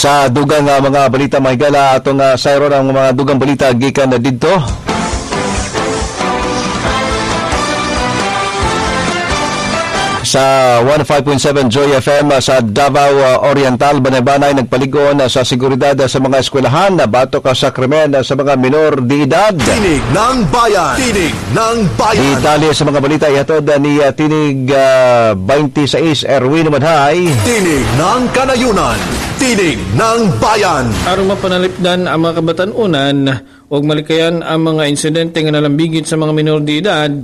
Sa dugang mga balita, mga higala, atong sayron ang mga dugang balita gikan na didto sa 105.7 Joy FM sa Davao Oriental. Banay-banay nagpaligon sa seguridad sa mga eskwelahan na batok sa krimen sa mga minor de edad. Tinig ng Bayan. Tinig ng Bayan. Detalye sa mga balita ihatod ni Tinig 26 Erwin Madhay. Tinig ng Kanayunan. Tinig ng Bayan. Aron mapanalipdan ang mga kabatanunan ug malikayan ang mga insidente nga nalambigit sa mga minor de edad,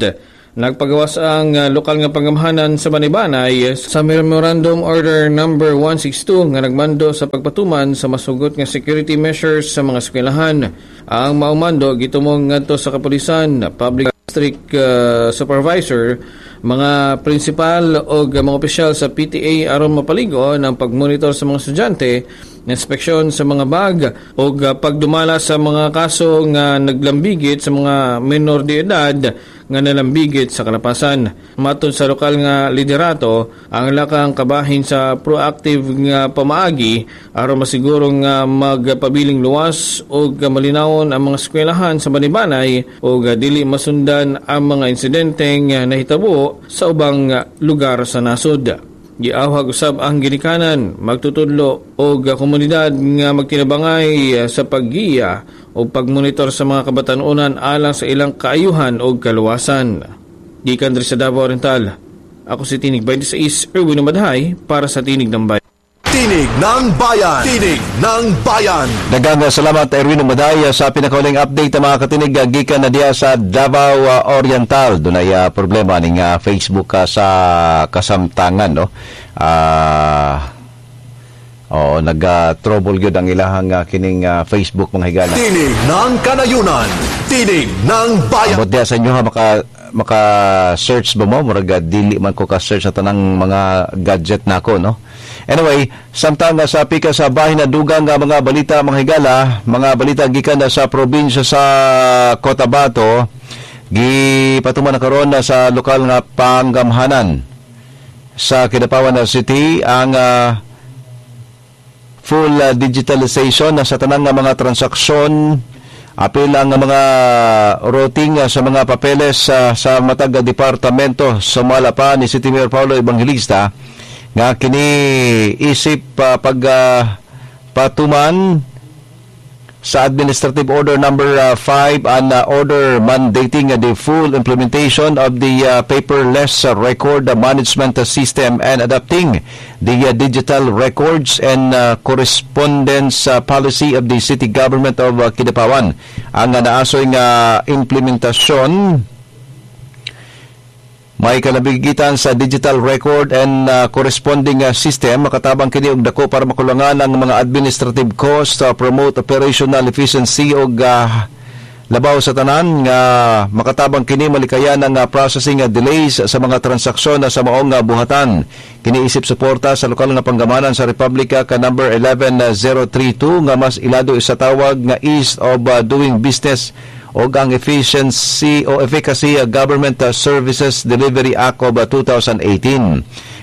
nagpagawas ang lokal nga panggamhanan sa Banaybanay sa Memorandum Order Number 162 nga nagmando sa pagpatuman sa masugot nga security measures sa mga eskwelahan. Ang maumando gitumong ngadto sa kapulisan, public district supervisor, mga prinsipal o mga opisyal sa PTA aron mapaligon ang pagmonitor sa mga estudyante, inspeksyon sa mga bag o pagdumala sa mga kaso nga naglambigit sa mga menor de edad nga nalambigit sa kalapasan. Matod sa lokal nga liderato, ang lakang kabahin sa proactive nga pamaagi aron masiguro nga magpabiling luwas og malinawon ang mga eskwelahan sa Banaybanay og dili masundan ang mga insidente nga nahitabo sa ubang lugar sa nasod. Giawhag usab ang ginikanan, magtutudlo og komunidad nga magtinabangay sa paggiya o pagmonitor sa mga kabatanunan alang sa ilang kaayuhan o kaluwasan. Gikan diri sa Davao Oriental, ako si Tinig 26 Erwin Madhay para sa Tinig ng Bayan. Tinig ng Bayan. Tinig ng Bayan. Daghang salamat, Erwin Madhay, sa pinakauling update mga katinig gikan na diya sa Davao Oriental. Dunay problema ning Facebook sa kasamtangan, no. Oo, nag-trouble gyud ang ilahang kining Facebook, mga higala. Tinig ng Kanayunan. Tinig ng Bayan. Ambot diya sa inyo ha, maka search ba mo? Murag dili man ko ka-search sa tanang mga gadget nako, no? Anyway, samtang sa pika sa bahin na dugang nga mga balita, mga higala, mga balita gikan na sa probinsya sa Cotabato, gipatuman na karon na sa lokal nga panggamhanan sa Kidapawan City ang full digitalization na sa tanang nga mga transaksyon, apil ang mga routing sa mga papeles sa matag departamento. Sumala pa ni City Mayor Paulo Evangelista nga kini isip pag patuman sa Administrative Order Number 5 and order mandating the full implementation of the paperless record management system and adopting the digital records and correspondence policy of the city government of Kidapawan. Ang naasoy nga implementasyon may kalabigitan sa digital record and corresponding system, makatabang kini og dako para makulangan ang mga administrative cost, promote operational efficiency og labaw sa tanan nga makatabang kini malikayan ang processing delays sa mga transaksyon sa maong buhatan. Kini isip suporta sa lokal nga panggamanan sa Republika ka Number 11032 nga mas ilado sa tawag nga ease of doing business og ang Efficiency o Efficacy Government Services Delivery Act of 2018.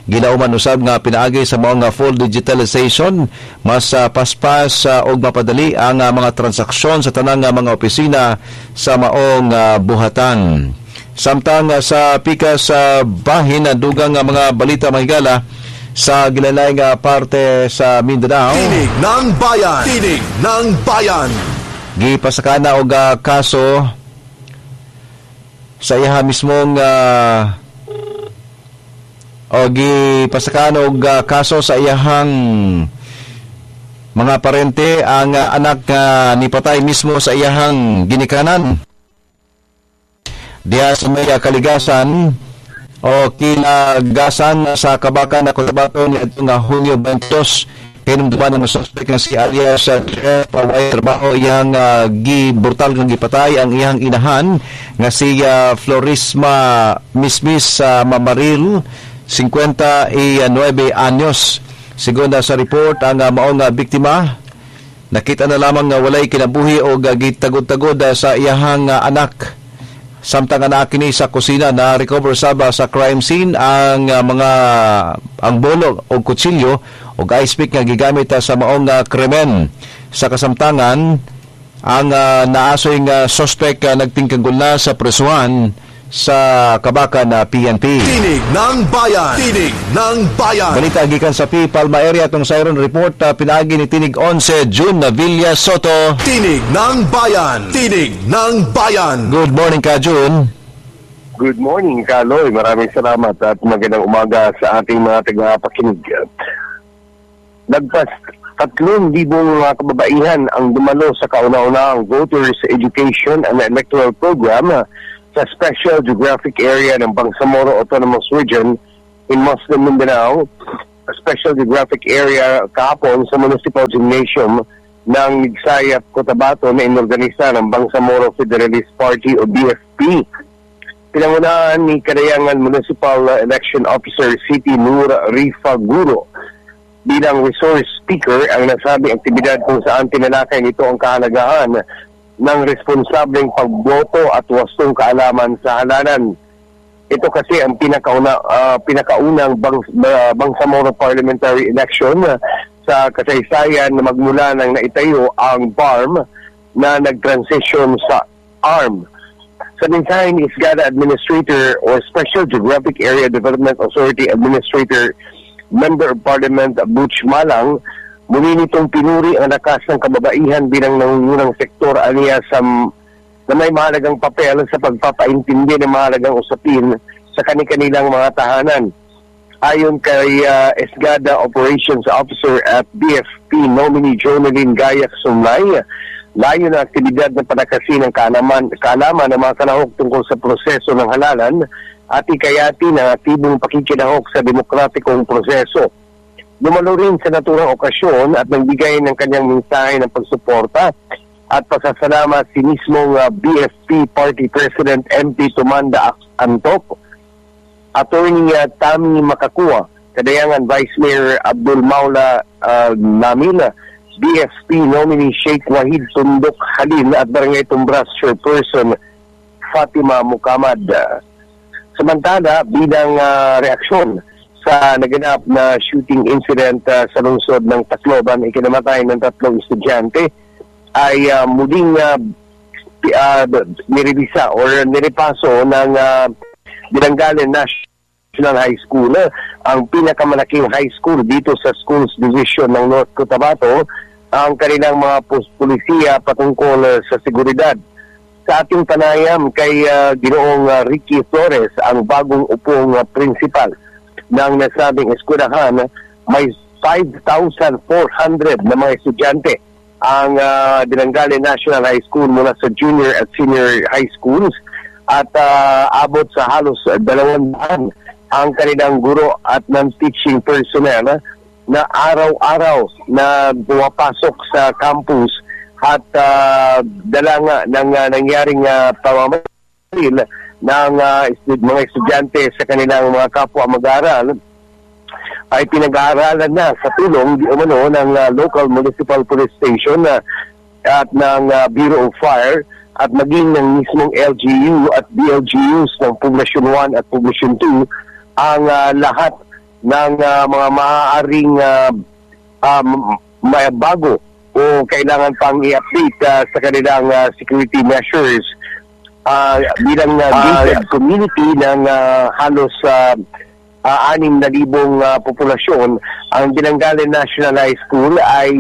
Ginauman usab nga pinaagi sa mga full digitalization, mas paspas og mapadali ang mga transaksyon sa tanang mga opisina sa maong buhatan. Samtang sa pika sa bahin na dugang mga balita, mahigala, sa gilalay nga parte sa Mindanao. Tinig ng Bayan. Tinig ng Bayan. Gipasakana og kaso sa iha mismong o gipasakana og kaso sa iyahang mga parente ang anak ni patay mismo sa iyahang ginikanan diha sa may kaligasan o kilagasan sa Kabakan na Cotabato ni adtong Hunyo 22. Kinumduman ng suspect nga si alias Jeff way trabaho, iyang gibrutal nga gipatay ang iyang inahan nga si Florisma Mismis sa Mamaril, 59 anyos. Sigon sa report, ang maong biktima nakita na lamang nga walay kinabuhi o gitagod-tagod sa iyahang anak samtang anak kini sa kusina. Na recover saba sa crime scene ang mga ang bolo o kutsilyo. ug ice pick nga gigamit sa maong krimen. Sa kasamtangan, ang naasoy nga suspect nagtingkagol na sa presuhan sa Kabakan na PNP. Tinig ng Bayan. Tinig ng Bayan. Balita gikan sa P. Palma area, atong siren report pinaagi ni Tinig 11 June na Villa Soto. Tinig ng Bayan. Tinig ng Bayan. Good morning ka, June. Good morning, Kaloy. Maraming salamat at magandang umaga sa ating mga tagapakinig. Lagpas 3,000 mga kababaihan ang dumalo sa kauna-unahang Voters Education and Electoral Program sa Special Geographic Area ng Bangsamoro Autonomous Region in Muslim Mindanao, Special Geographic Area, kahapon sa Municipal Gymnasium ng Migsayap, Cotabato na inorganisa ng Bangsamoro Federalist Party o BFP. Pinangunahan ni Kadayangan Municipal Election Officer City Nur Rifa Guro bilang resource speaker ang nasabing aktibidad kung saan tinalakay nito ang kahalagahan ng responsableng pagboto at wastong kaalaman sa halalan. Ito kasi ang pinakaunang Bangsamoro parliamentary election sa kasaysayan na magmula nang naitayo ang BARMM na nag-transition sa ARMM. Sa mensahe ni SGADA Administrator or Special Geographic Area Development Authority Administrator Member of Parliament Butch Malang, muli nitong pinuri ang lakas ng kababaihan bilang nangungunang sektor aniya sa na may mahalagang papel sa pagpapaintindi ng mahalagang usapin sa kani-kanilang mga tahanan. Ayon kay SGADA Operations Officer at BFP nominee Jonalyn Gayak Sumlay, layo ng aktibidad na palakasin ang kaalaman ng mga kalahok tungkol sa proseso ng halalan at ikayati ng aktibong pakikilahok sa demokratikong proseso. Dumalo rin sa naturang okasyon at nagbigay ng kanyang mensahe ng pagsuporta at pasasalamat si mismong BFP Party President MP Tumanda Antok, Attorney Tami Makakuha, Kadayangan Vice Mayor Abdul Maula Lamil, BFP nominee Sheikh Wahid Tundok Halil at Barangay Tumbras Chairperson Fatima Mukamad. Samantala, bilang reaksyon sa naganap na shooting incident sa lungsod ng Tacloban, ikinamatay ng tatlong estudyante, ay muling nirevisa or nirepaso ng Dilangalen National High School, ang pinakamalaking high school dito sa Schools Division ng North Cotabato, ang kanilang mga pulisiya patungkol sa seguridad. Sa ating panayam kay Ginoong Ricky Flores, ang bagong upong principal ng nasabing eskwelahan, may 5,400 na mga estudyante ang Dilangalen National High School mula sa junior at senior high schools at abot sa halos 200 ang kanilang guro at non-teaching personnel na araw-araw na pumapasok sa campus at dala nga ng nangyaring pamamaril ng mga estudyante sa kanilang mga kapwa mag-aaral ay pinag-aaralan na sa tulong di umano ng local municipal police station at ng Bureau of Fire at maging ng mismong LGU at BLGUs ng Poblacion 1 at Poblacion 2 ang lahat ng mga maaaring may bago o kailangan pang i-update sa kanilang security measures. Bilang gated community ng halos 6,000 populasyon, ang Dilangalen National High School ay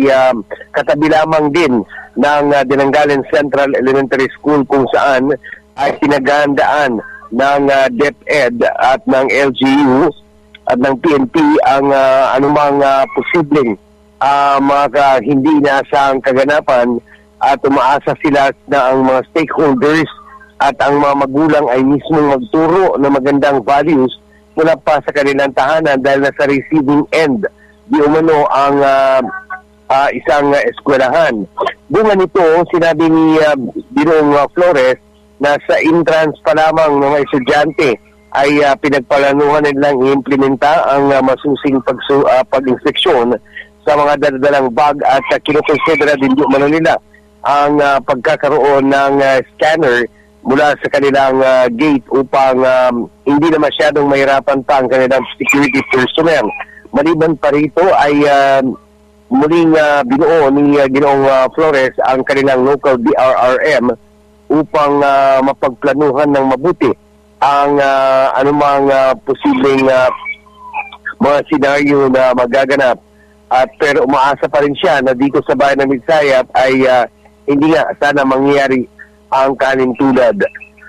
katabi lamang din ng Dilangalen Central Elementary School kung saan ay pinaghandaan ng DepEd at ng LGU at ng PNP ang anumang posibleng mga hindi inaasahang kaganapan at umaasa sila na ang mga stakeholders at ang mga magulang ay mismong magturo ng magandang values mula pa sa kanilang tahanan dahil nasa receiving end di umano ang isang eskwelahan. Bunga nito, sinabi ni Ginoong Flores na sa entrance pa lamang ng mga estudyante ay pinagpalanuhan nilang i-implementa ang masusing pag-inspeksyon sa mga daladalang bag at kinukonsidera din di umano nila ang pagkakaroon ng scanner mula sa kanilang gate upang hindi na masyadong mahirapan pa ang kanilang security personnel. Maliban pa rito ay muling binuo ni Ginoong Flores ang kanilang local DRRM upang mapagplanuhan ng mabuti ang anumang posibleng mga senaryo na magaganap. At pero umaasa pa rin siya na dito sa bayan ng Midsayap ay hindi nga sana mangyari ang kalintulad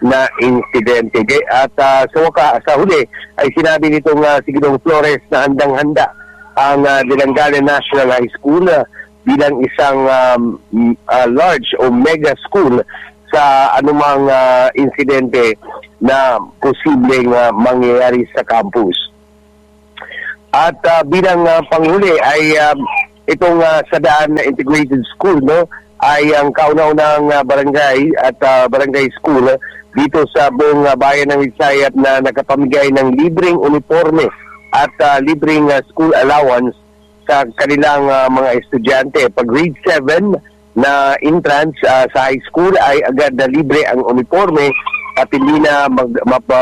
na insidente. At sa huli ay sinabi nitong si Ginoong Flores na handang-handa ang Dilangalen National High School bilang isang large o mega school sa anumang insidente na posibleng mangyayari sa campus. At bilang panghuli ay itong Sadaan Integrated School, no, ay ang kauna-unang barangay at barangay school dito sa buong bayan ng Midsayap na nakapamigay ng libreng uniforme at libreng school allowance sa kanilang mga estudyante. Pag grade 7 na entrance sa high school ay agad na libre ang uniforme at hindi na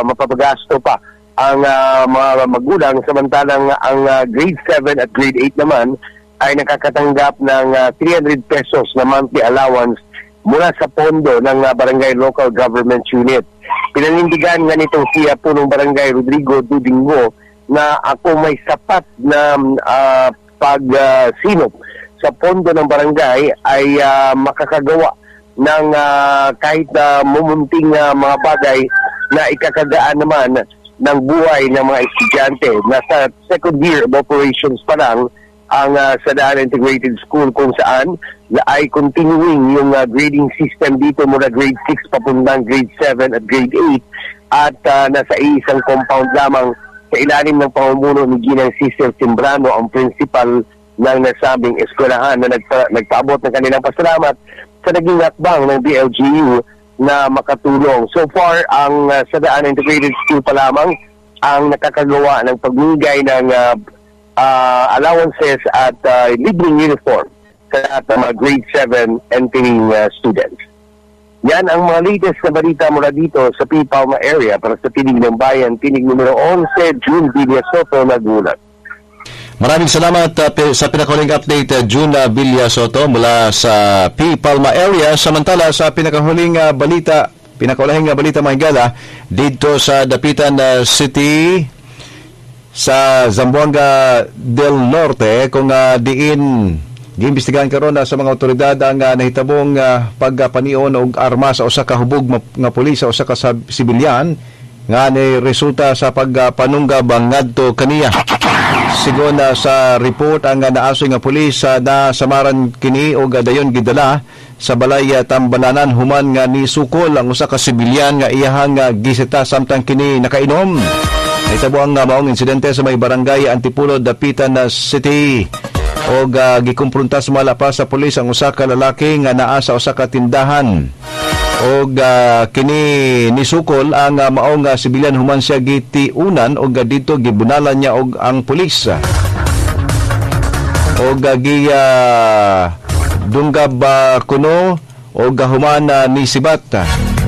mapapagasto pa ang mga magulang, samantalang ang grade 7 at grade 8 naman ay nakakatanggap ng 300 pesos na monthly allowance mula sa pondo ng Barangay Local Government Unit. Pinanindigan nga nitong siya punong barangay Rodrigo Dudingo na ako may sapat na pagsinop sa pondo ng barangay ay makakagawa ng kahit mumunting mga bagay na ikakagaan naman ng buhay ng mga estudyante. Nasa second year of operations pa lang ang Sadaan Integrated School, kung saan ay continuing yung grading system dito mula grade 6 papuntang grade 7 at grade 8 at nasa isang compound lamang sa ilalim ng pamumuno ni Ginang Cecil Timbrano, ang principal ng nasabing eskwelahan, na nagpaabot ng kanilang pasalamat sa naging hakbang ng BLGU na makatulong. So far, ang Sadaan Integrated School pa lamang ang nakakagawa ng pagmigay ng allowances at libreng uniform sa lahat ng mga grade 7 entering students. Yan ang mga latest na balita mula dito sa P. Palma area para sa Tinig ng Bayan, Tinig numero 11, June Villasoto, nagulat. Maraming salamat sa pinakahuling update, June Villasoto mula sa P. Palma area. Samantala, sa pinakahuling balita, pinakaulahing balita mga higala, dito sa Dapitan City sa Zamboanga del Norte, kung diin giimbestigahan karon sa mga otoridad ang nahitabong pagpanion og armas sa usa ka hubog nga pulis sa usa ka sibilyan nga ni resulta sa pagpanunggab ngadto kaniya. Sigon sa report, ang naasoy nga pulis na samaran kini og dayon gidala sa balay Tambalanan human nga nisukol ang usa ka sibilyan nga iyahang gisita samtang kini nakainom. Nahitabo ang maong insidente sa may barangay Antipulo, Dapitan City. Og gikumpronta sumala pa sa pulis ang usa ka lalaki nga naa sa usa ka tindahan. Og kini nisukol ang maong sibilyan human siya gitiunan og didto gibunalan niya og ang pulis. Og dunggab kuno og human nisibat.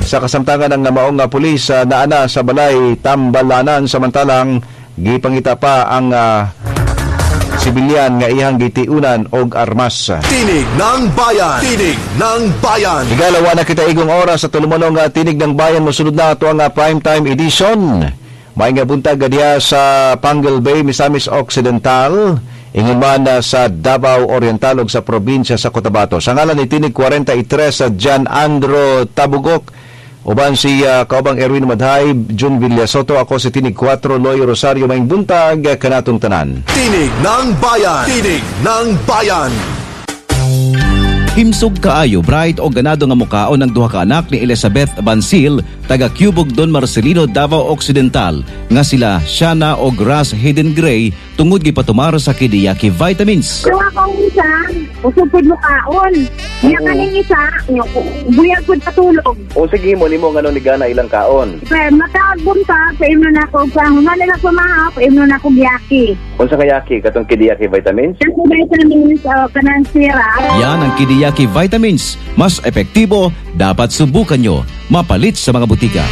Sa kasamtangan ang maong pulis naana sa balay Tambalanan, samantalang gipangita pa ang sibilyan nga iyang gitiunan og armas. Tinig ng Bayan! Tinig ng Bayan! Igalawa na kita igong oras sa tulumonong Tinig ng Bayan. Mosunod na ato ang primetime edition. Maayong buntag diha sa Panguil Bay, Misamis Occidental, ingon man sa Davao Oriental ug sa probinsya sa Cotabato. Sa ngalan ni Tinig 43 sa John Andro Tabugok, uban si kaubang Erwin Madhay, June Villasoto, ako si Tinig 4, Loy Rosario. Maayong buntag kanatong tanan. Tinig ng Bayan! Tinig ng Bayan! Himsog kaayo, bright o ganado nga mukaon ang duha ka anak ni Elizabeth Bansil, taga Cubog Don Marcelino, Davao Occidental, nga sila Shana o Grass Hayden Gray, tungod gipatumar sa Kidiyaki Vitamins. Duha kong isa, usog pud mukaon. Nya kaning isa, buyag pud patulog. O sige mo nimo ngano ni gana ilang kaon. Pero makaagom ta, paimno na ko pa human nila kumaha, paimno na ko giyaki. Unsa kayaki katong Kidiyaki Vitamins? Kanang vitamins o kanang syrup. Yan ang Kidiyaki Vitamins. Mas epektibo, dapat subukan nyo. Mapalit sa mga butika.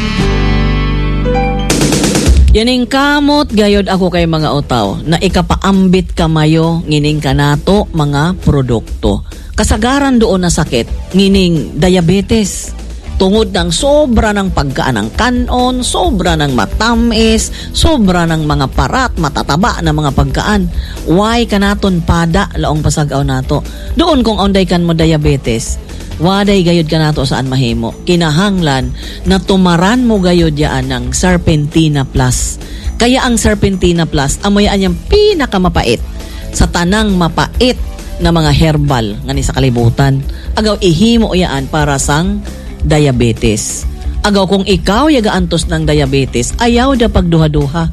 Yaning kamot gayod ako kay mga utaw na ikapaambit kamayo ngining kanato mga produkto. Kasagaran doon na sakit ngining diabetes. Tungod ng sobra ng pagkaan ng kanon, sobra ng matamis, sobra ng mga parat, matataba na mga pagkaan. Why kanaton pada laong pasagaw nato? Doon kung onday kan mo diabetes, waday gayod ka nato saan mahimo. Kinahanglan na tumaran mo gayod yaan ng Serpentina Plus. Kaya ang Serpentina Plus, amoy anyang pinakamapait sa tanang mapait na mga herbal nga ni sa kalibutan. Agaw ihimo yaan para sang diabetes. Agaw kung ikaw yagaantos ng diabetes, ayaw da pagduha-duha.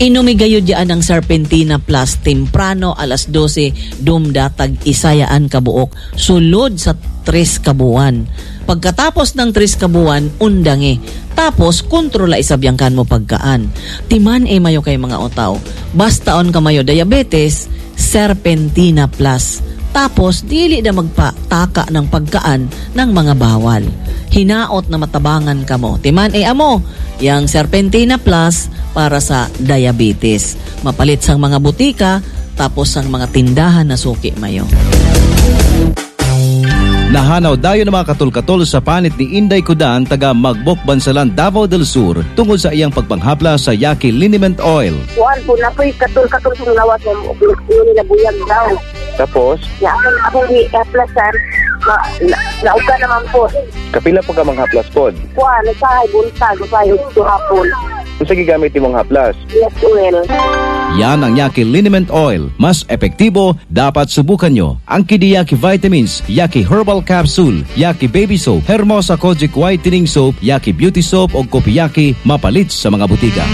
Inumi gayud yaan ang Serpentina Plus temprano alas 12 dumdatag isayaan kabuok sulod sa 3 kabuwan. Pagkatapos ng 3 kabuwan, undangi. Tapos kontrola isabyangkan mo pagkaan. Timan e mayo kay mga otaw. Basta on kamayo diabetes, Serpentina Plus. Tapos dili na magpataka ng pagkaan ng mga bawal. Hinaot na matabangan kamo. Timan e amo, yang Serpentina Plus para sa diabetes. Mapalit sang mga butika, tapos sang mga tindahan na suki mayo. Nahanaw dayon ang mga katol-katol sa panit ni Inday Kudan taga Magbok, Bansalan, Davao del Sur tungod sa iyang pagpanghapla sa Yaki Liniment Oil. Kuan po na po'y katol-katol sa lawas ng yun nila buyag daw. Tapos, Ya, akong i-aplasan, nauga naman po. Kapila po ka manghaplas pod. Kuan, usahay buntag, usahay udto hapon. Unsa gigamit imong haplas? Yes, well. Yan ang Yaki Liniment Oil. Mas epektibo, dapat subukan nyo. Ang Kidiyaki Vitamins, Yaki Herbal Capsule, Yaki Baby Soap, Hermosa Kojic Whitening Soap, Yaki Beauty Soap o Kopiyaki mapalit sa mga butika.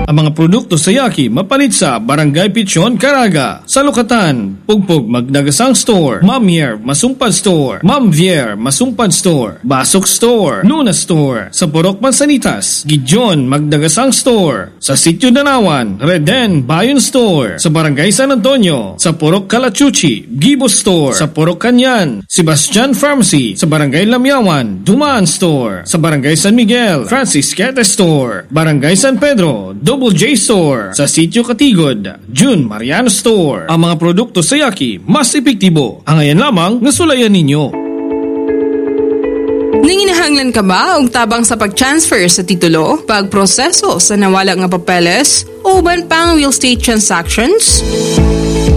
Ang mga produkto sa Yaki mapalit sa Barangay Pichon, Caraga, sa Lukatan, Pugpog Magdagasang Store, Mamier Masumpad Store, Mamvier Masumpad Store, Basok Store, Luna Store, sa Purok Mansanitas, Gideon Magdagasang Store, sa Sitio Danawan, Reden Bayon Store, sa Barangay San Antonio, sa Purok Kalachuchi, Gibo Store, sa Purok Kanyan, Sebastian Pharmacy, sa Barangay Lamyawan, Dumaan Store, sa Barangay San Miguel, Francis Quete Store, Barangay San Pedro, Double J Store, sa Sitio Katigod, June Mariano Store. Ang mga produkto sa Yaki mas epektibo. Ang ngayon lamang nga sulayan ninyo. Nanginahanglan ka ba og tabang sa pag-transfer sa titulo, pagproseso sa nawala nga papeles, o uban pang real estate transactions?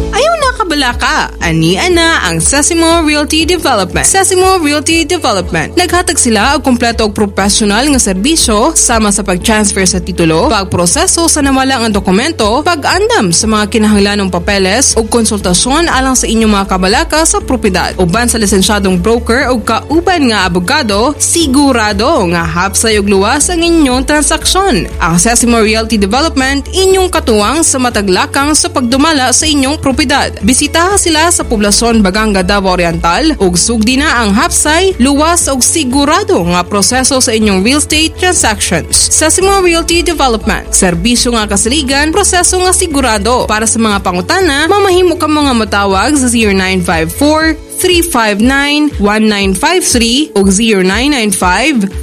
Ayaw na kabala ka. Ania na ang Sesimo Realty Development. Sesimo Realty Development. Naghatag sila og kompleto og professional nga serbisyo sama sa pag-transfer sa titulo, pagproseso sa nawala nga dokumento, pag-andam sa mga kinahanglanong papeles ug konsultasyon alang sa inyong mga kabalaka sa propiedad. Uban sa lisensyadong broker ug kauban nga abogado, sigurado nga hapsay ug luwas ang inyong transaksyon. Ang Sesimo Realty Development inyong katuwang sa mataglakang sa pagdumala sa inyong propiedad. Bisitaha sila sa poblasyon Baganga, Davao Oriental ug sugdi na ang hapsay, luwas ug sigurado nga proseso sa inyong real estate transactions. Sesimo Realty Development, serbisyo nga kasaligan, proseso nga sigurado. Para sa mga pangutana, mamahimo ka mga matawag sa 0954-359-1953 ug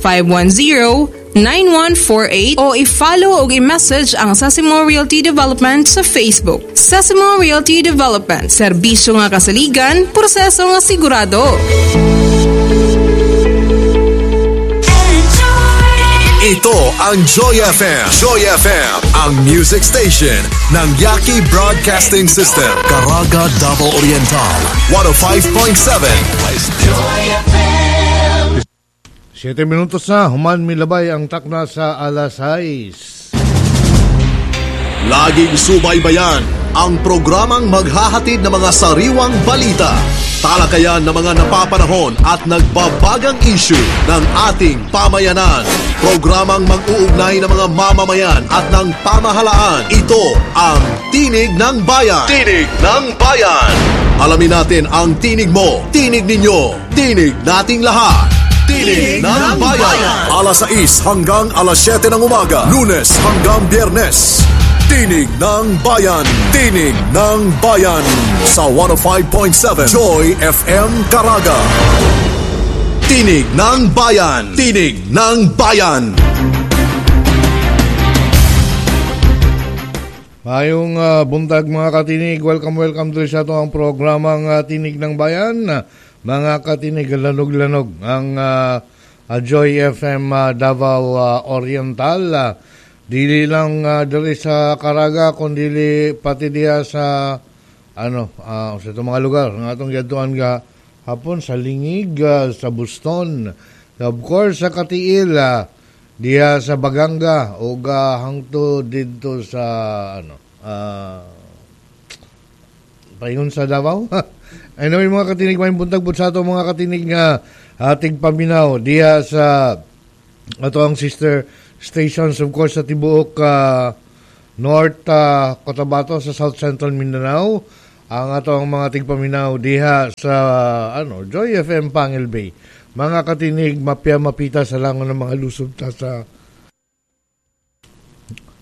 0995-510-9148 o i-follow o i-message ang Sesimo Realty Development sa Facebook. Sesimo Realty Development, serbisyo nga kasaligan, proseso nga sigurado. Ito ang Joy FM. Joy FM, ang music station ng Yaki Broadcasting System. Caraga, Davao Oriental, 105.7. Joy FM. 7 minutos na, human milabay ang takna sa alas 6. Laging subaybayan ang programang maghahatid ng mga sariwang balita, talakayan ng mga napapanahon at nagbabagang issue ng ating pamayanan. Programang mag-uugnay ng mga mamamayan at ng pamahalaan. Ito ang Tinig ng Bayan. Tinig ng Bayan. Alamin natin ang tinig mo, tinig ninyo, tinig nating lahat. Tinig ng Bayan. Alas 6 hanggang alas 7 ng umaga, Lunes hanggang Biyernes. Tinig ng Bayan. Tinig ng Bayan. Sa 105.7 Joy FM Caraga. Tinig ng Bayan. Tinig ng Bayan. Mayong buntag, mga katinig. Welcome, welcome diri sa ato ang programang Tinig ng Bayan. Mga katinig, lanog-lanog ang Joy FM Davao Oriental. Dili lang diri sa Caraga kundi pati diha sa ano sa itong mga lugar nga atong giadtuan ga hapon sa Lingig, sa Buston, of course sa Katiil, diha sa Baganga ug hangto didto sa ano paingon sa Davao. Anyway, mga katinig, may buntag pud sa ato mga katinig nga ating paminaw diha sa ato ang sister stations, of course sa tibuok North Cotabato, sa South Central Mindanao, ang ato ang mga tigpaminaw diha sa ano Joy FM Pangil Bay. Mga katinig, mapya mapita sa langon ng mga lusob ta sa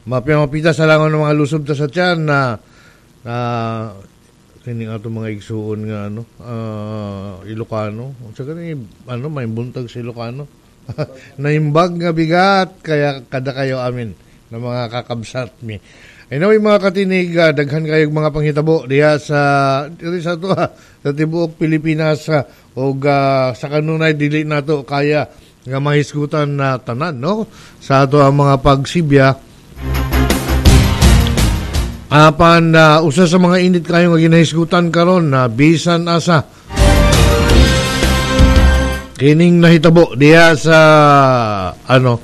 mapya mapita sa langon ng mga lusob ta sa tiyan na na kining ato mga igsuon nga ano Ilocano. Unsa kani ano may buntag sa Ilocano? Naimbag nga bigat kaya kada kayo amin na mga kakabsat mi. Anyway, mga katinig, daghan kayog mga panghitabo diha sa diri sa ato sa tibuok Pilipinas ug sa kanunay dili nato kaya nga mahisgutan na tanan, no, sa ato ang mga pagsibya. Apan usa sa mga init kayo nga ginahisgutan karon na bisan asa kining nahitabo diha sa ano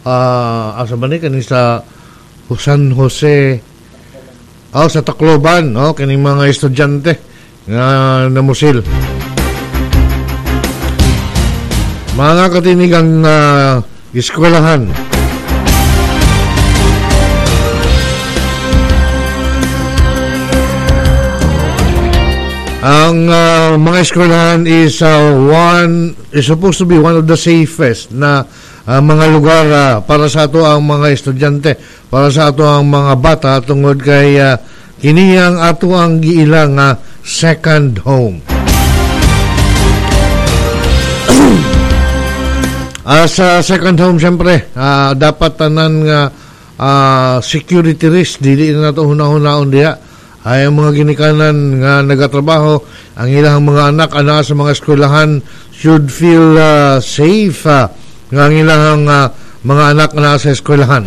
asa ba ni kani sa San Jose, oh, sa Tacloban, no, kining mga estudyante nga namusil. Mga katinig, ang eskwelahan ang mga eskwelahan is one is supposed to be one of the safest na mga lugar para sa ato ang mga estudyante, para sa ato ang mga bata, tungod kay kini ang ato ang giilang second home. Sa second home, siyempre, dapat tanan nga security risk dili na nato hunahunahon diha. Ay ang mga ginikanan nga nagatrabaho, ang ilang mga anak ana sa mga eskwelahan should feel safe nga ang ilang mga anak na sa eskwelahan.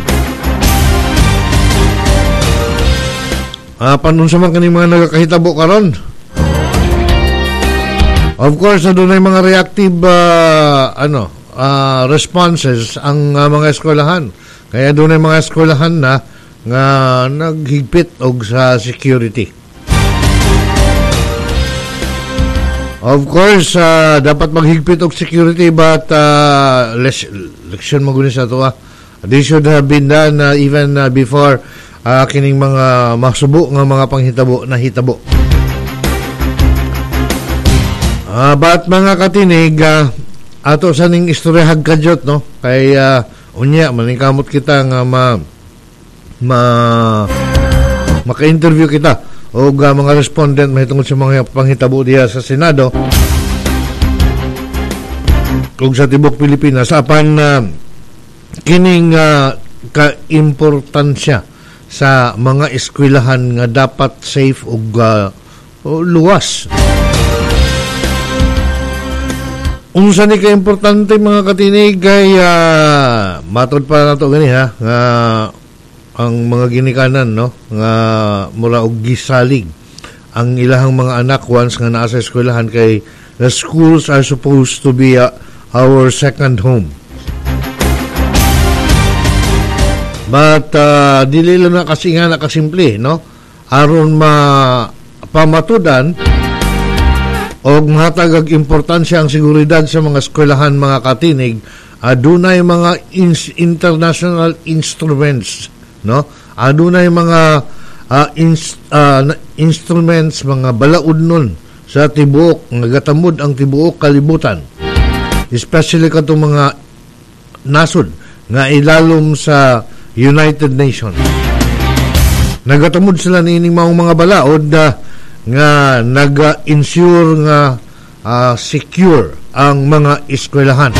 Panunsa man kaning mga nagakahitabo karon. Of course, adunay mga reactive responses ang mga eskwelahan. Kaya adunay mga eskwelahan na nga naghigpit og sa security. Of course, dapat maghigpit og security, but leksyon mo sa ato. This should have been done even before kining mga masubo nga mga panghitabo na hitabo. But mga katinig, ato sa ning istorya hagkadyot, no? Kay unya maningkamot kita nga maka-interview kita og mga respondent mahitungod sa mga panghitabo diha sa Senado ug sa tibuok Pilipinas. Apan kining kaimportansya sa mga eskwelahan nga dapat safe ug luwas. Unsa ni kaimportante, mga katinig, kay matod pa nato gani ha nga ang mga ginikanan, no, nga mura og gisalig ang ilahang mga anak once nga naa sa eskwelahan, kay the schools are supposed to be our second home. But dili lang na kasi nga nakasimple, no, aron mapamatudan og mahatag og importansya ang seguridad sa mga eskwelahan, mga katinig. Adunay mga international instruments, no? Adunay mga instruments, mga balaod nun sa tibuok nga gatamod ang tibuok kalibutan, especially katong mga nasod nga ilalom sa United Nations. Nagatamod sila niining maong mga balaod nga naga-ensure nga secure ang mga eskwelahan.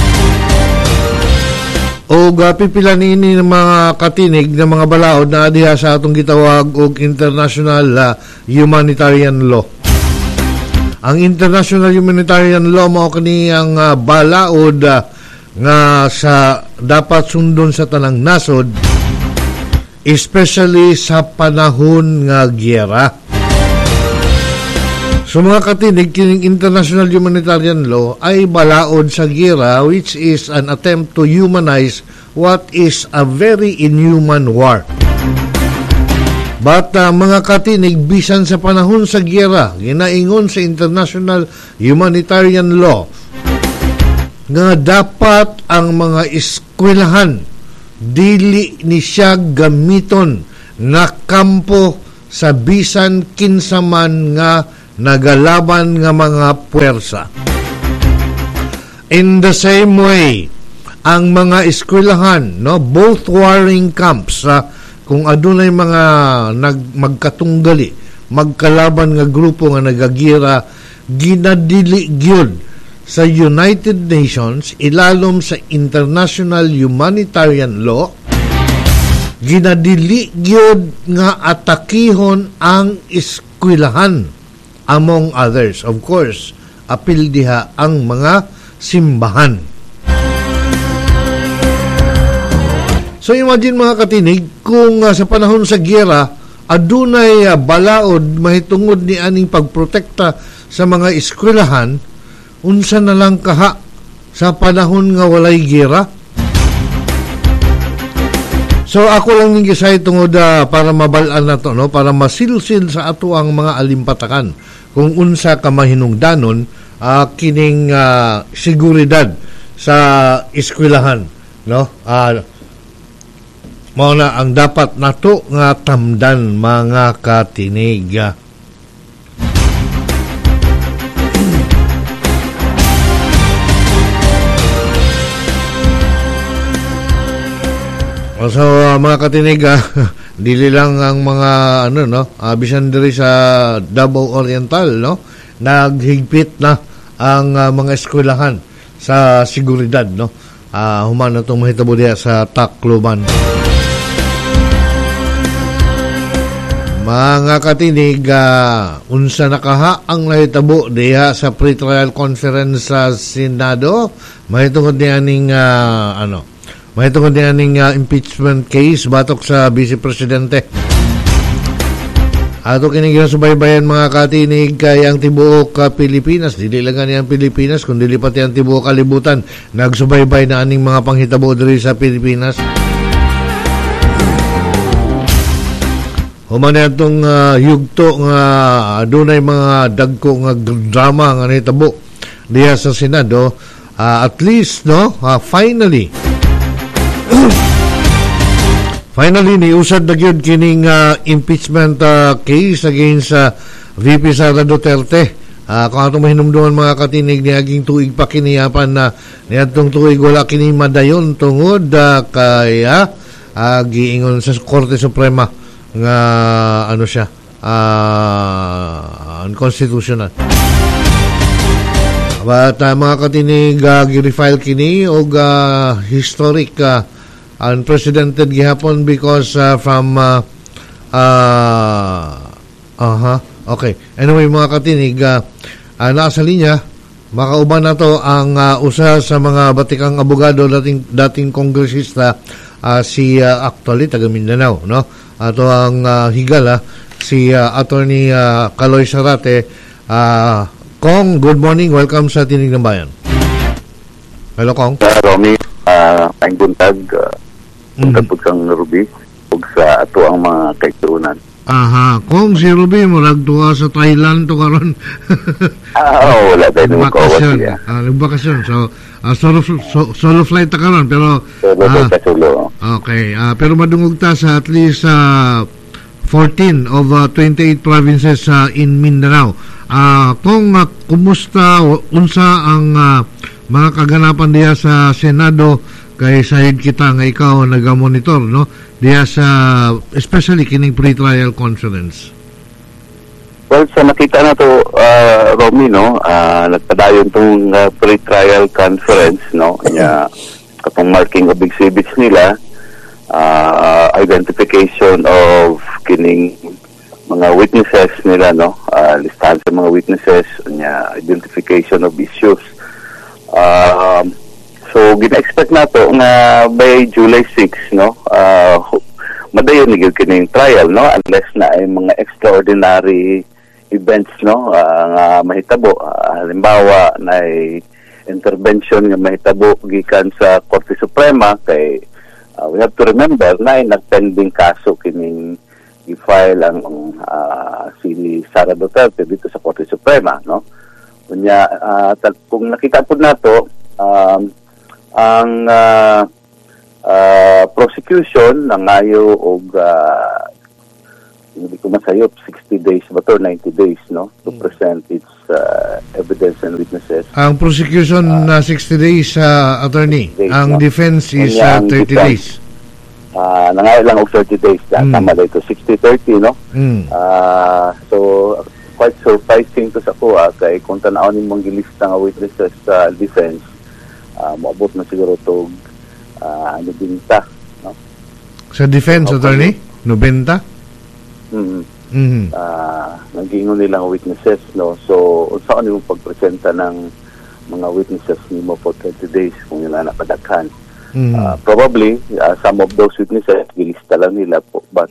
O pipila niini ng mga katinig ng mga balaod na diha sa atong gitawag og international humanitarian law. Ang international humanitarian law mao kini ang balaod nga sa dapat sundon sa tanang nasod, especially sa panahon nga giyera. So mga katinig, kining international humanitarian law ay balaod sa giyera, which is an attempt to humanize what is a very inhuman war. But mga katinig, bisan sa panahon sa giyera, ginaingon sa international humanitarian law nga dapat ang mga eskwelahan dili ni siya gamiton na kampo sa bisan kinsa man nga nagalaban nga mga puwersa. In the same way, ang mga eskwelahan, no, both warring camps, kung adunay mga magkatunggali, magkalaban nga grupo nga nagagira, ginadili gyud sa United Nations ilalom sa international humanitarian law, ginadili gyud nga atakihon ang eskwelahan, among others. Of course, apil diha ang mga simbahan. So imagine mga katinig, kung sa panahon sa giyera adunay balaod mahitungod ni aning pagprotekta sa mga eskwelahan, unsa na lang kaha sa panahon nga walay giyera? So ako lang ning gisay tungod para mabal-an na to, no, para masilsil sa ato ang mga alimpatakan kung unsa ka mahinungdanon kining seguridad sa eskwelahan, no? Mao na ang dapat nato nga tamdan mga katinig. So mga katinig, dili lang ang mga ano, no, bisan diri sa Davao Oriental, no, naghigpit na ang mga eskwelahan sa seguridad, no. Human na itong mahitabo diha sa Tacloban. Mga katinig, unsa na kaha ang nahitabo diha sa pre-trial conference sa Senado mahitungod niya ning mahitungod niya ning impeachment case batok sa Vice Presidente. Ato kini ginasubaybayan mga katinig kay ang tibuok Pilipinas, dili lang gani ang Pilipinas kundi pati ang tibuok kalibutan nagsubaybay na aning mga panghitabo diri sa Pilipinas. Human atong yugto nga adunay mga dagko nga drama nga nahitabo diha sa Senado, at least, no, finally finally niusad na gyud kining impeachment case against VP Sara Duterte. Kung atong mahinumduman mga katinig, niaging tuig pa kiniyapan na niadtong tuig wala kini madayon tungod kay giingon sa Korte Suprema nga ano siya, unconstitutional. But mga katinig, gi-refile kini og historic unprecedented gihapon because from okay. Anyway mga katinig, nasa linya makauban na to ang usa sa mga batikang abogado, dating kongresista, si actually taga Mindanao, no? Ato ang higala si Attorney Kaloy Zarate. Kong, good morning. Welcome sa Tinig ng Bayan. Hello, Kong. Romy, ang buntag, buntag po kang Ruby, ug sa ato ang mga kaigsuonan. Aha, Kong, si Ruby, murag tuwa sa Thailand to karon. Wala tayo nagkawat siya. Nagbakasyon. So, solo flight ta karon, pero solo. Okay, pero madungog ta sa at least 14 of 28 provinces in Mindanao. Kung kumusta unsa ang mga kaganapan diha sa Senado, kay sahid kita nga ikaw nagamonitor, no, diha sa especially kining pre-trial conference. Well, sa nakita na to, Romy, no, nagpadayon tong pre-trial conference, no, nya Katong marking of exhibits nila, identification of kining mga witnesses nila, no, listahan sa mga witnesses nya, identification of issues. So gina-expect nato nga by July 6, no, madayon ni gyud kining trial, no, unless na ay mga extraordinary events, no, nga mahitabo. Halimbawa na intervention nga mahitabo gikan sa Korte Suprema, kay we have to remember na ay nagpending kaso kining i-file ang si Sara Duterte dito sa Korte Suprema, no. Unya, kung nakita po nato, ang prosecution nangayo og, hindi ko masayop, 60 days ba to, 90 days, no, to present its evidence and witnesses. Ang prosecution na 60 days, attorney. Days, ang no? Defense is Unya, ang 30 defense, days. Nangayo lang og 30 days. Tama dito, 60-30, no? So quite surprising to sa kuha kay kung tan-aw nimong gilista nga witnesses sa defense, moabot na siguro to 90, no? Sa defense, attorney? 90? Mm. Naggingon nila ang witnesses, no? So unsa nimo pagpresenta ng mga witnesses nimo for 30 days kung yun na kadaghan? Probably some of those witnesses gilista lang nila po, but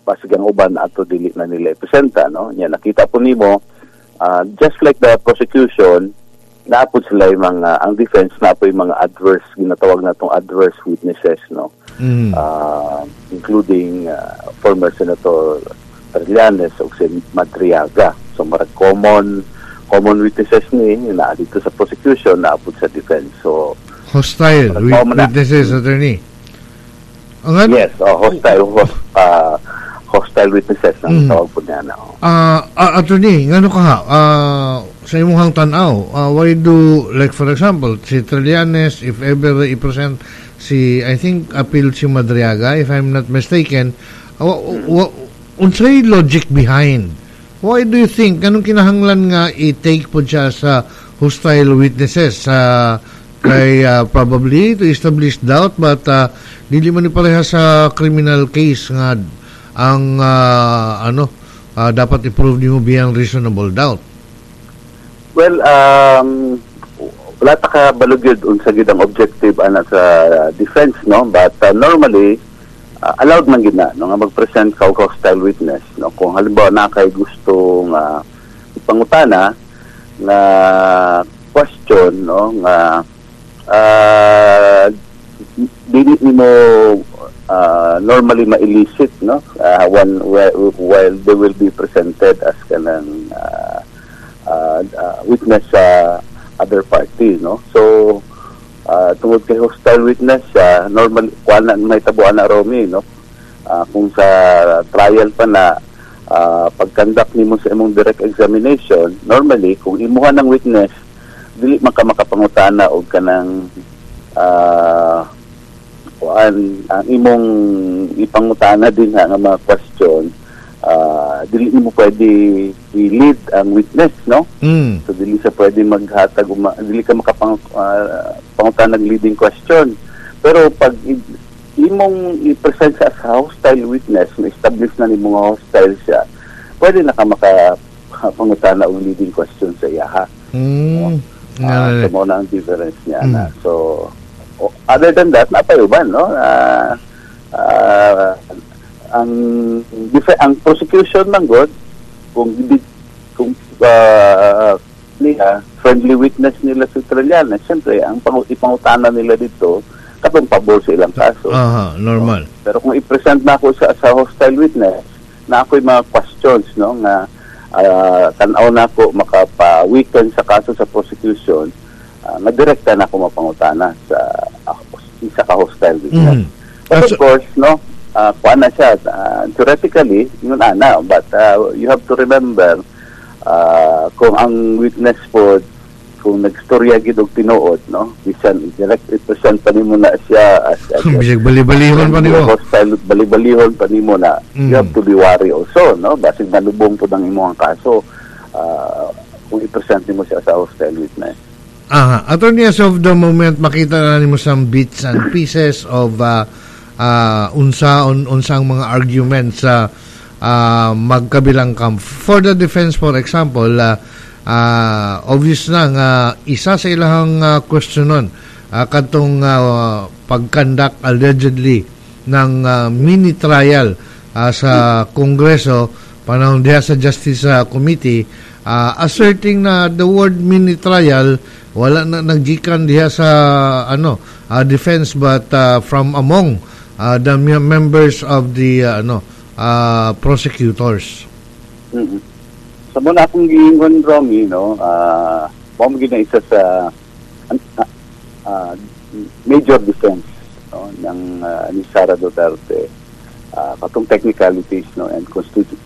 basig ang uban ato dili na nila ipresenta, no. Nya nakita po nimo, just like the prosecution, naapod sila yung mga, ang defense na po yung mga adverse, ginatawag na itong adverse witnesses, no. Including former Senator Trillanes o si Madriaga. So marag common witnesses ni na dito sa prosecution, naapod sa defense. So hostile witnesses, attorney. Ang ano? Yes, hostile witnesses ang tawag po niya na. Attorney, ngano ka ha? Sa imong tan-aw, why do, like for example, si Trillanes, if ever i-present si, I think, appeal si Madriaga, if I'm not mistaken, unsay logic behind? Why do you think, anong kinahanglan nga i-take po siya sa hostile witnesses? Kay probably to establish doubt, but dili man ni pareha sa criminal case nga ang dapat i-prove nimo beyond reasonable doubt. Well, wala ta ka balugid unsa gid ang objective ana sa defense, no, but normally allowed man gid na, no, nga mag-present ka og hostile witness, no, kung halimbawa na kay gusto nga ipangutana nga question, no, nga dili nimo normally ma-elicit, no, while they will be presented as kanang witness sa other party, no. So tungod kay hostile witness siya, normal kuan na may tabuan na Romy, no. Kung sa trial pa na, pag-conduct nimo sa imong direct examination, normally kung imuha ng witness dili man ka makapangutana og kanang kuan ang imong ipangutana din ha nga mga question, dili nimo pwede i-lead ang witness, no. So dili sa pwede maghatag, dili ka makapangutana ng leading question. Pero pag imong i-present sa as hostile witness, na-establish na nimo nga hostile siya, pwede na ka makapangutana og leading question sa iya, ha. So mo na ang difference niya na. So other than that, napayuban, no. Ang prosecution man god, kung niya friendly witness nila si Trillanes, siyempre ang ipangutana nila dito katong pabor sa ilang kaso. Aha, normal. No? Pero kung i-present na ako sa hostile witness, na ako'y mga questions, no, nga tan-aw na ako makapa-weaken sa kaso sa prosecution, madirekta na ako mapangutana sa isa ka hostile witness. But of course, no, kuan na siya, theoretically yun ana, but you have to remember, kung ang witness po, kung nagstorya gid og tinuod, no, bisan direct i-present pa nimo na siya as bisag bali-balihon pa nimo, hostile, bali-balihon pa nimo na, you have to be wary also, no, basig malubong pud ang imong kaso kung i-present nimo siya sa hostile witness. Aha. Attorney, as of the moment, makita na nimo some bits and pieces of unsang mga arguments sa magkabilang camp. For the defense, for example, obvious na nga isa sa ilahang questionon katong pag-conduct allegedly ng mini trial sa Kongreso panahon diha sa Justice Committee, asserting na the word mini trial wala na naggikan diha sa ano defense but from among the members of the ano prosecutors. Sa muna akong giingon, Romy, no, mao gyud na isa sa major defense, no, ng ni Sara Duterte, katong technicalities, no, and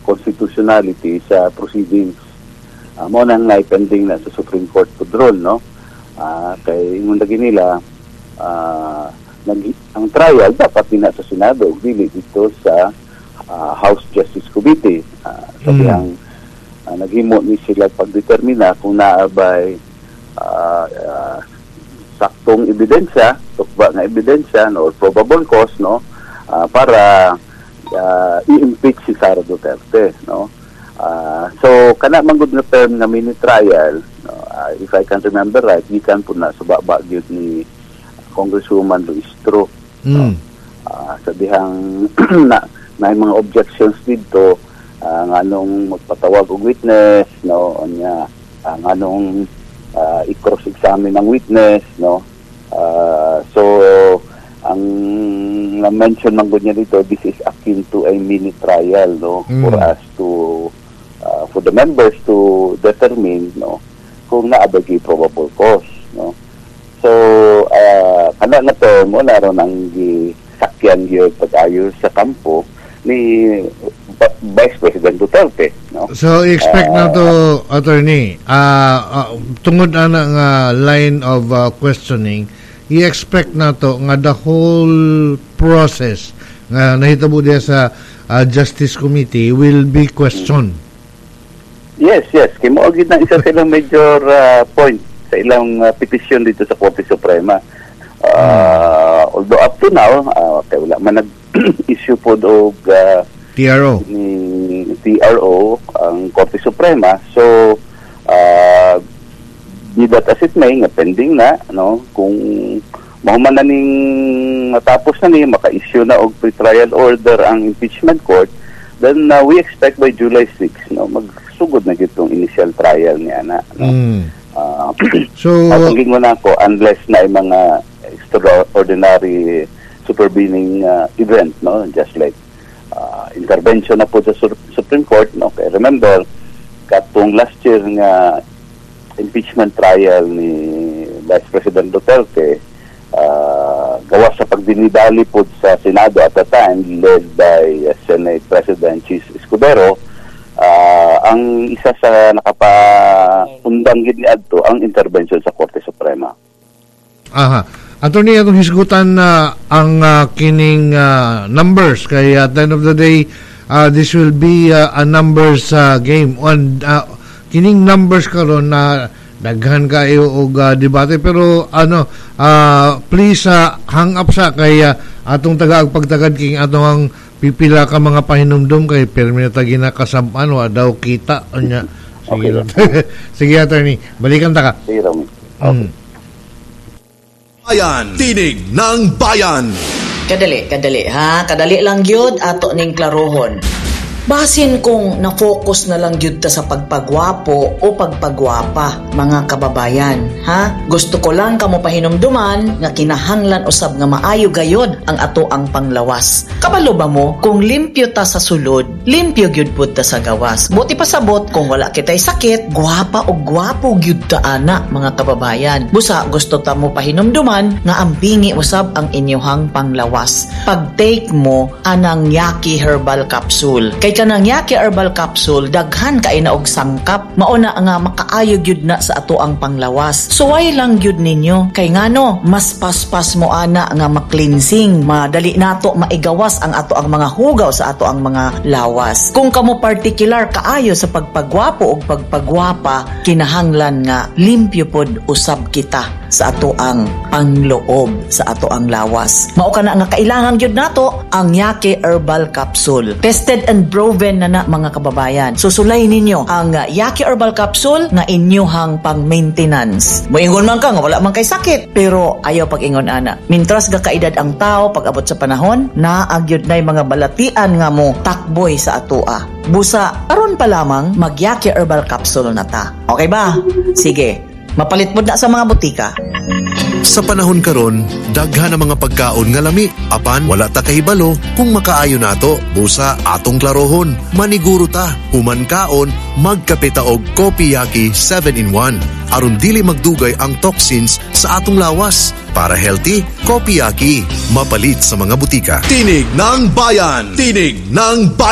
constitutionality sa proceedings. Mao nang pending na sa Supreme Court pudron, no, kay ingon lagi nila, ang trial dapat din na sa Senado ug dili dito sa House Justice Committee. Sabi ang naghimo ni sila pagdetermina kung naa bay saktong ebidensya, tukba nga ebidensya, no, or probable cause, no, para i-impeach si Sara Duterte, no. So kana man gud nga term nga mini trial, no, if I can remember right, gikan po na sa baba gyud ni Congresswoman Luistro. Sa dihang na na mga objections dito, nganong magpatawag og witness, no, unya nganong i-cross examine ang witness, no. So ang na-mention man gud niya dito, this is akin to a mini trial, no, for us to for the members to determine, no, kung naa ba probable cause, no. So kana nga term mo na ron ang gisakyan gyud pag-ayo sa kampo ni Vice President Duterte, no. So expect na to, attorney, tungod ana nga line of questioning, i-expect na to nga the whole process nga nahitabo diya sa Justice Committee will be questioned. Yes. Kay mao gyud na isa sa ilang major point sa ilang petisyon dito sa Korte Suprema. Although up to now, kay wala man nag-issue pod og TRO. Ni TRO ang Korte Suprema. So, be that as it may, nga pending na, no, kung mahuman na ning matapos na ni maka-issue na og pre-trial order ang impeachment court, then we expect by July 6, no, magsugod na gitong initial trial niya na, no. So, atong gingon ako, unless na yung mga extraordinary supervening event, no, just like intervention na po sa Supreme Court, no. Kay remember katong last year nga impeachment trial ni Vice President Duterte, gawas sa pagdinidali po sa Senado at the time led by Senate President Chis Escudero, ang isa sa nakapaundang gid ni adto ang intervention sa Korte Suprema. Aha. Attorney, atong hisgutan na ang kining numbers kay at the end of the day, this will be a numbers game on kining numbers karon na daghan kayo og debate, pero ano, please hang up sa kay atong tagaag pagtagad king atong ang pipila ka mga pahinumdum kay permi na ta ginakasab-an, wa daw kita unya. Sige lang. Sige, attorney, balikan ta ka. Sige, Romy. Bayan, Tinig ng Bayan. Kadali, kadali ha. Kadali lang gyud ato ning klarohon. Basin kung na-focus na lang gyud ta sa pagpagwapo o pagpagwapa, mga kababayan, ha? Gusto ko lang kamo pahinumduman nga kinahanglan usab nga maayo gayod ang ato ang panglawas. Kabalo ba mo kung limpyo ta sa sulod, limpyo gyud pud ta sa gawas? Buti pasabot kung wala kitay sakit, gwapa o gwapo gyud ta ana, mga kababayan. Busa gusto ta mo pahinumduman nga ampingi usab ang inyuhang panglawas. Pag-take mo anang Yaki Herbal Capsule. Kay Kay kanang Yaki Herbal Capsule, daghan kay na og sangkap. Mao na nga makaayo gyud na sa ato ang panglawas. Suway lang gyud ninyo. Kay ngano, mas paspas mo ana nga ma-cleansing, madali nato maigawas ang ato ang mga hugaw sa ato ang mga lawas. Kung kamo particular kaayo sa pagpagwapo og pagpagwapa, kinahanglan nga limpyo pod usab kita sa ato ang pangloob, sa ato ang lawas. Mao kana nga kailangan gyud nato ang Yake Herbal Capsule. Tested and proven na na, mga kababayan. Susulay ninyo ang Yake Herbal Capsule nga inyuhang pang-maintenance. Moingon man ka nga wala man kay sakit, pero ayaw pag-ingon ana. Mintras ga kaedad ang tao, pag abot sa panahon, naagyod na mga balatian nga mo takboy sa atoa. Busa, aron pa lamang mag-Yake Herbal Capsule na ta. Okay ba? Sige. Mapalit mo na sa mga butika. Sa panahon karon, daghan ang mga pagkaon nga lami apan wala ta kahibalo kung makaayo nato. Busa atong klarohon, maniguro ta, human kaon, magkape ta og Kopiyaki 7 in 1 aron dili magdugay ang toxins sa atong lawas. Para healthy, Kopiyaki. Mapalit sa mga butika. Tinig ng Bayan! Tinig ng Bayan!